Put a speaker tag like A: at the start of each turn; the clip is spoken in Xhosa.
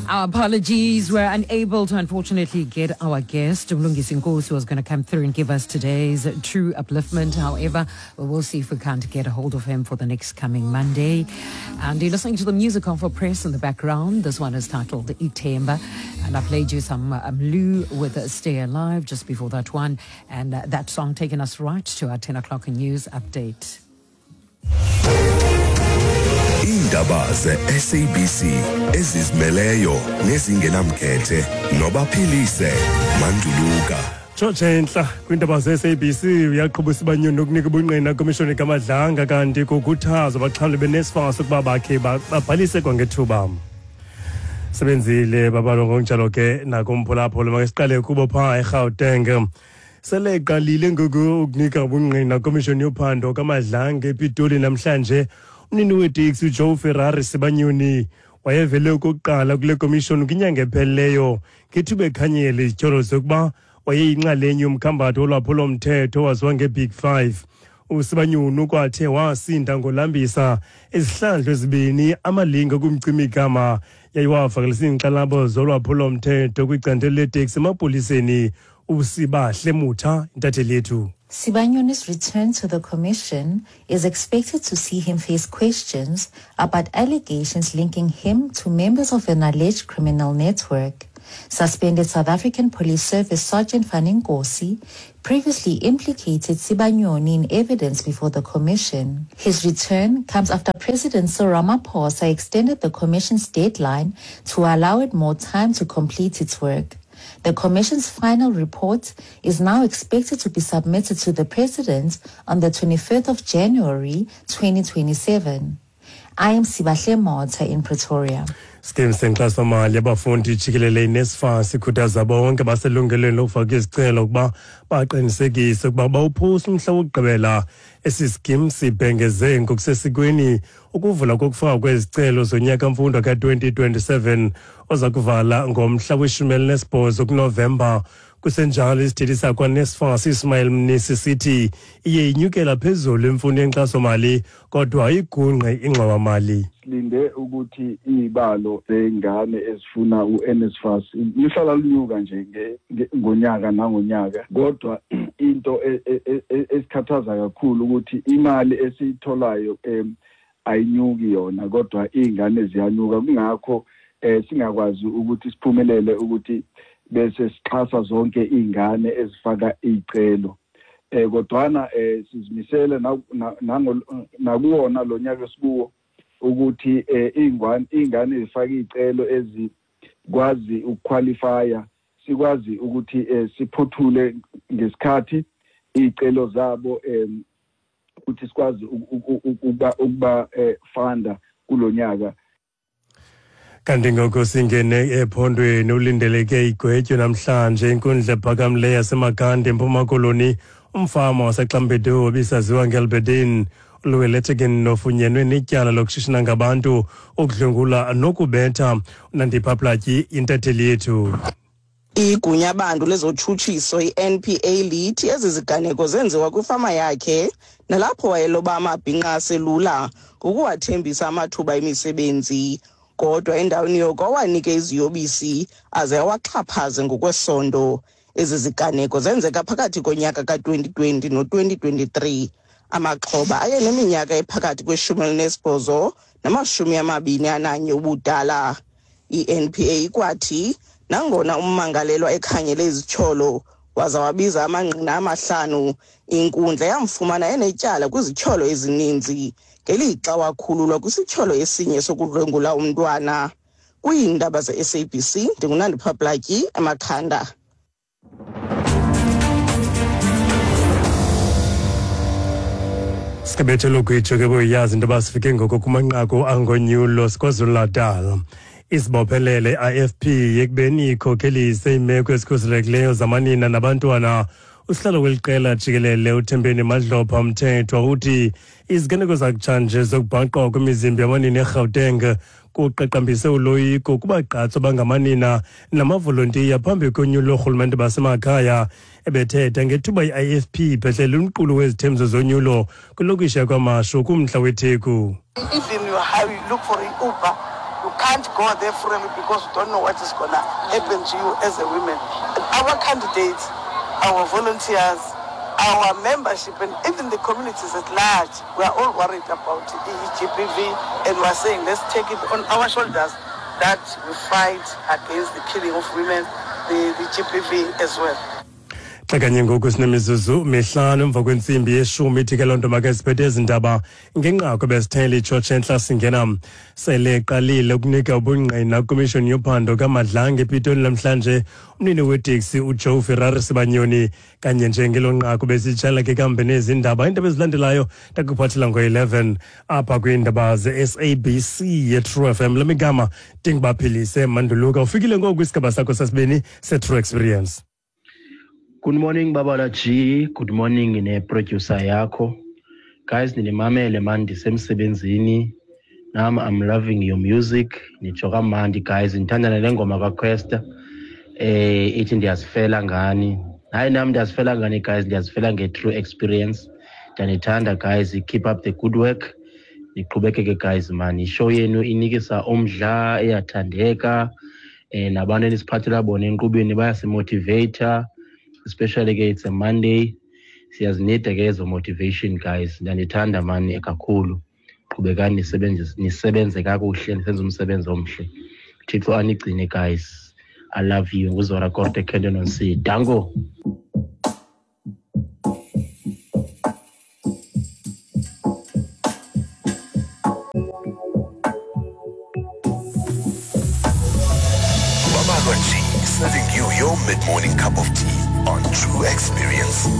A: Our apologies. We're unable to, unfortunately, get our guest, Mlungisi Nkosi, who was going to come through and give us today's true upliftment. However, we will see if we can't get a hold of him for the next coming Monday. And you're listening to the music of Press in the background. This one is titled Itemba. And I played you some Lou with Stay Alive just before that one. And that song taking us right to our 10 o'clock news update.
B: Iindaba ze-SABC ezizimeleyo nezingenamkhethe nobaphilise Manduluka.
C: Tshotshe entla kwiindaba ze-SABC uyaqhuba uSibanyoni nokunika ubungqina kwimishoni kaMadlanga kanti kukhuthazwa abaxhamli beNSFAS ukuba bakhe babhalise kwangethuba. Sebenzile babalo ngokunjalo ke nakumphulaphula make siqale kubo phaa eGauteng. Sele iqalile ngoku ukunika ubungqina kwimishoni yophando kaMadlanga ePitoli namhlanje. Umnini weteksi uJoe Ferrari Sibanyoni wayevele okokuqala kule komishoni kwinyanga ephelileyo ngethuba ekhanyela izityholo zokuba wayeyinxalenye yomkhambathi wolwaphulomthetho owaziwa ngeBig Five. USibanyoni ukwathe wasinda ngolambisa izihlandlo ezibini amalinge okumcima igama yaye wavakalisa iinkxalabo zolwaphulomthetho kwicandelo leteksi emapoliseni. USibahle Mutha, intatheli yethu.
D: Sibanyoni's return to the commission is expected to see him face questions about allegations linking him to members of an alleged criminal network. Suspended South African Police Service Sergeant Fani Nkosi previously implicated Sibanyoni in evidence before the commission. His return comes after President Cyril Ramaphosa extended the commission's deadline to allow it more time to complete its work. The commission's final report is now expected to be submitted to the president on the 25th of January 2027. I am Sibahle Motha in Pretoria.
C: Skim senkxasomali yabafundi jikelele iNSFAS ikhuthaza bonke baselungelweni lokufaka izicelo ukuba baqinisekise ukuba bawuphusa umhla wokugqibela. Esi skim sibhengeze ngokusesikweni ukuvula kokufakwa kwezicelo zonyaka mfundo ka-2027 oza kuvala ngomhla weshumi elinesibhozo kuNovemba. Kusenjalo isithethi sakwaNSFAS Ismail Mnisi sithi iye inyukela phezulu imfundo yenkxasomali kodwa ayigungqi ingxowamali.
E: Silinde ukuthi izibalo zengane ezifuna uNSFAS lihlala linyuka nje ngonyaka nangonyaka, kodwa into esikhathaza kakhulu ukuthi imali esiyitholayo ayinyuki yona, kodwa izingane ziyanyuka. Kungakho singakwazi ukuthi siphumelele ukuthi bese sixhasa zonke izingane ezifaka izicelo. Kodwana sizimisele nakuwona lo nyaka esikuwo ukuthi izingane ezifaka izicelo ezikwazi ukuqualifya sikwazi ukuthi siphuthule ngesikhathi izicelo zabo ukuthi sikwazi ukuba funda kulonyaka.
C: Kanti ngoku singene ephondweni, ulindeleke igwetyo namhlanje inkundla ephakamileyo yaseMakhanda eMpuma Koloni. Umfama waseXambedu obisaziwa ngeLbedin uLuweletigen nofunyenwe netyala lokushishina ngabantu, ukudlwengula nokubetha. UNandipha Platyi, intatheli yethu.
F: Igunyabantu lezotshutshiso i-NPA lithi ezi ziganeko zenziwa kwifama yakhe nalapho wayeloba amabhinqa aselula ngokuwathembisa amathuba emisebenzi, kodwa endaweni yoko awanike iziyobisi aze awaxhaphaze ngokwesondo. Ezi ziganeko zenzeka phakathi konyaka ka-2020 no-2023. Amaxhoba ayeneminyaka ephakathi kweshumi elinesibhozo namashumi amabini ananye ubudala. I-NPA ikwathi nangona ummangalelwa ekhanyele izityholo waza wabiza amangqina amahlanu, inkundla yamfumana enetyala kwizityholo ezininzi ngelixa wakhululwa kwisityholo esinye sokudlwengula umntwana. Kwiindaba ze-SABC ndinguNandipha Platyi eMakhanda.
C: Sikabethelo kwitsho ke boyazi into yoba sifike ngoko kumanqaku angonyulo siKwaZulu-Natal. Isibophelele i-IFP ekubeni ikhokhelise iimeko ezikhuselekileyo zamanina nabantwana. Usihlalo weli qela jikelele uThembeni Madlopha Mthethwa uthi iziganeko zakutshanje zokubhaqwa kwemizimba yamanina eGauteng kuqaqambise uloyiko kubagqatso bangamanina namavolontiya phambi konyulo loorhulumente basemakhaya. Ebethetha ngethuba i-IFP ibhedlele umqulu wezithembiso zonyulo kwilokishi yakwaMashu kumntla weTheku.
G: Even how you look for an Uber, you can't go there freely because you don't know what is going to happen to you as a woman. And our candidates, our volunteers, our membership, and even the communities at large, we are all worried about GBV, and we are saying let's take it on our shoulders that we fight against the killing of women, the GBV as well.
C: Xa kanye ngoku sinemizuzu mihlanu emva kwentsimbi yeshumi, ithi ke loo nto make siphethe ezi ndaba ngenqaku besithele itshotshe entla. Singena sele eqalile ukunika ubungqina kwimishoni yophando kaMadlanga ePitoli namhlanje umnini weteksi uJoe Ferrari Sibanyoni. Kanye nje ngelo nqaku besitshala ke kambe nezi ndaba. Iindaba ezilandelayo ndakuphathela ngo-11 apha kwiindaba ze-SABC ye-True FM. Lamigama ndingubaphilise Manduluka. Ufikile ngoku kwisigaba sakho sesibini se-True Experience.
H: Good morning, Babala G. Good morning ne-producer yakho. Guys, ninimamele man, ndisemsebenzini. Nam I'm loving your music. Nitsho kamandi guys, ndithanda nale ngoma kaQuesta. Ithi ndiyazifela ngani. Hayi, nam ndiyazifela ngani guys, ndiyazifela nge-True Experience. Ndiyanithanda guys, keep up the good work. Niqhubekeke guys man, ishow yenu inikisa umdla, iyathandeka. Nabantu enisiphathela bona enkqubeni bayasimotivata. Especially ke it's a Monday, siyazinida ke ezo motivation guys. Ndiyanithanda mani kakhulu, qhubekani nisebenze kakuhle, nisenze umsebenzi omhle. Thixo anigcine guys, I love you. Nguzora Korte Kenton on C. Dango.
B: Babalwa G, serving you your mid-morning cup of tea on True Experience.